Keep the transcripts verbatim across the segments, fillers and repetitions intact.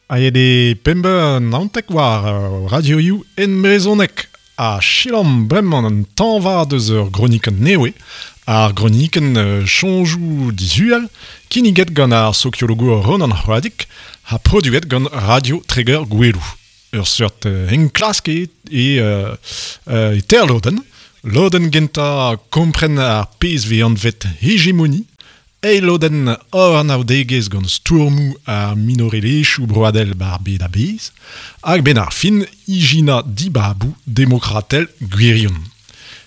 Aet eo pemp naontek war radioioù en brezhoneg ha selaomp bremañ an tañva deus ur gronikenn nevez, ar gronikenn Soñjoù Dishual, kinniget gant ar sokiologour Ronan C'hoadig ha produet gant Radio Treger Goueloù. Ur seurt enklask e, e, e ter lodenn. Lodenn gentañ kompren ar pezh vez anvet hegemoni, eil lodenn hor anaoudegezh gant stourmoù ar minorelezhioù broadel bar bed a-bezh, hag ben ar fin ijinañ dibaboù demokratel gwirion.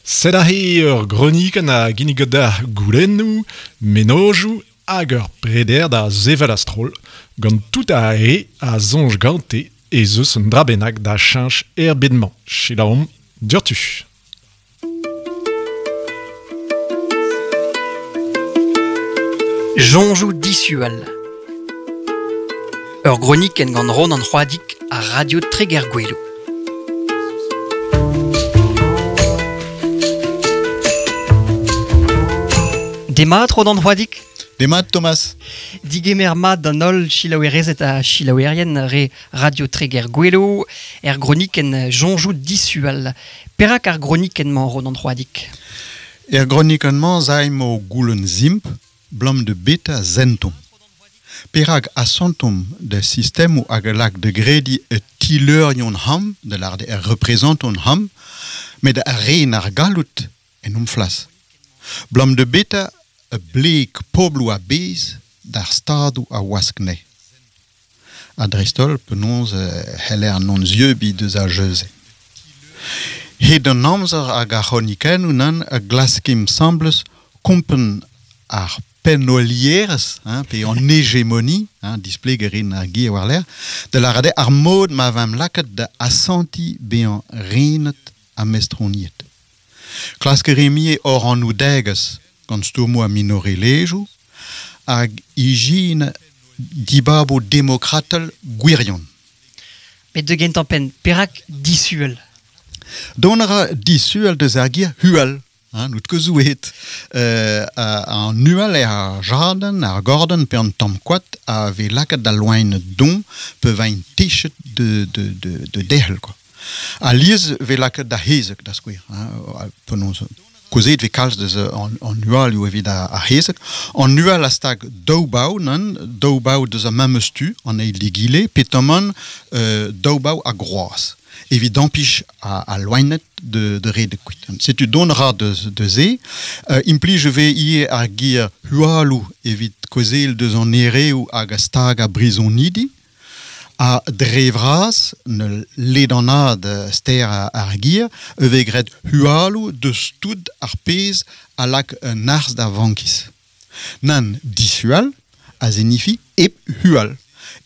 Sed aze ur gronikenn a ginnig da goulennoù, mennozhioù hag ur preder da sevel a-stroll gant tout ar re a soñj gante ez eus un dra bennak da cheñch er bed-mañ. Selaomp diouzhtu. Soñjoù Dishual. Ur gronikenn gant Ronan C'hoadig ha Radio Treger Goueloù. Demat Ronan C'hoadig. Demat Thomas. Digemer mat d'an holl selaouerezed ha selaouerien re Radio Treger Goueloù er gronikenn Soñjoù Dishual. Perak ar gronikenn-mañ Ronan C'hoadig? Er gronikenn-mañ zaimp o goulenn zimp blam de beta zentom. Perak asantom de sistemou hag lak de gredi e tileurion ham, de lar de er représenton ham, met ar re ar galout en om flas. Blam de beta e bleek poblou a bez d'ar stadou a waskne. A dreistol penaos heller non zeubi deus a jeuze. Hed an amzer hag ar c'hronikennoù nan a glaskim sembles kompen ar pennolierez, hein, pe an hégémonie, hein, displegerin ar gir war l'air, de la rade ar mod ma vam lakat da asanti bean renet a mestroniet. Klaskeremie or an oudegez gant stourmoù a minorelezhioù hag ijin dibabo demokratel gwirion. Met de gentañ penn, perak dishual? Dont a ra dishual deus ar gir hual. Hein, nout ket zouet. Euh, an nual eo ar jadenn, ar gordenn pe an tamm koad a vez lakaet da loen don pe vain techet de, de, de, de derc'hel, quoi. A liez vez lakaet da hezeg, da skouer. Hein, penaos kozet vez kalz deus an, an nualioù evit ar hezeg. An nual a stag daou bav, nan, daou bav deus ar memes tu, an eil d'egile, pe taman euh, daou bav a groaz. Evit ampich a, a loenet de, de red kuit. Setu don ra de, de ze. Euh, implij ve ie ar gir hualou evit kozel deus an ereoù hag a stag a brizonidi. A dre vras, ne ledanad ster ar gir, e vez graet hualou deus tout ar pezh a lak un arz da vankis. Nan dishual a zenifi ep hual.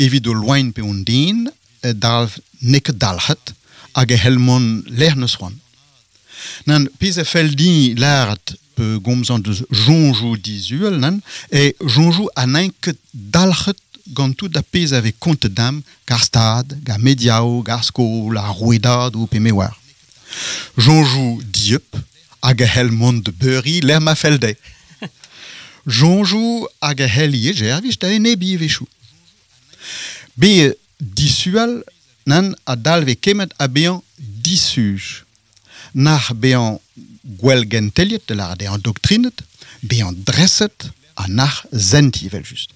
Evit o loen pe on den, dalv neket dalc'het, hag e helmon lec'h neus c'hoant. Nan, pezh a fell din lâret pe gomzan deus soñjoù dishual, nan, e soñjoù a n'int ket dalc'het gant tout a pezh a vez kontet dam gar stad, gar mediaoù, gar skol, ar rouedadoù pe me oar. Soñjoù dieub hag a c'hell mont de beuriñ lec'h ma fell dezhe. Soñjoù hag a c'hell ivez servij da enebiñ a-wechoù. Be dishual nan a dalve kemet a bezañ disuj. Nac'h bezañ gwell genteliet, de lâret eo an doktrinet, bezañ dreset ha nac'h sentiñ evel-just.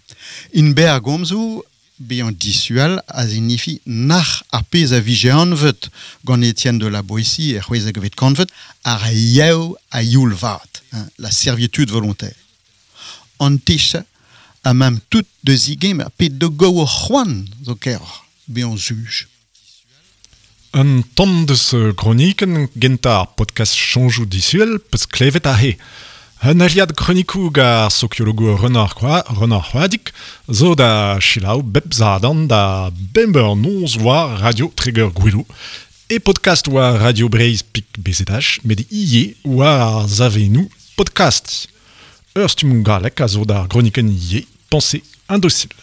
In berr gomzoù, bezañ dishual a zinifi nac'h ar pezh a vije anvet gant Étienne de la Boétie er c'hwezekvet kantved ar yev a youl vat, hein, la servitude volontaire. An tech a mam tout de zigemer pe de go o c'hoant zo keroc'h bezañ suj. Un tamm deus kronikenn gentañ ar podcast Soñjoù Dishual peus klevet aze. Un aliad kronikoù gant ar sokiologour Ronan C'hoadig zo da selaou bep zadan da bemp eur noz war Radio Treger Goueloù e podcast war Radio Breizh Pik B Z H met ivez war ar savennoù podcast. Ur stumm gallek a zo d'ar gronikenn ivez, Pensée indocile.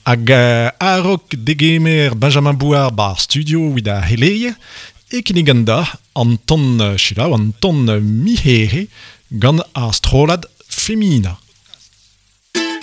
Hag a-raok degemer Benjamin Bouard bar studio evit ar c'heleier e kinnigan da an ton selaou, an ton mihere gant ar strollad Femina.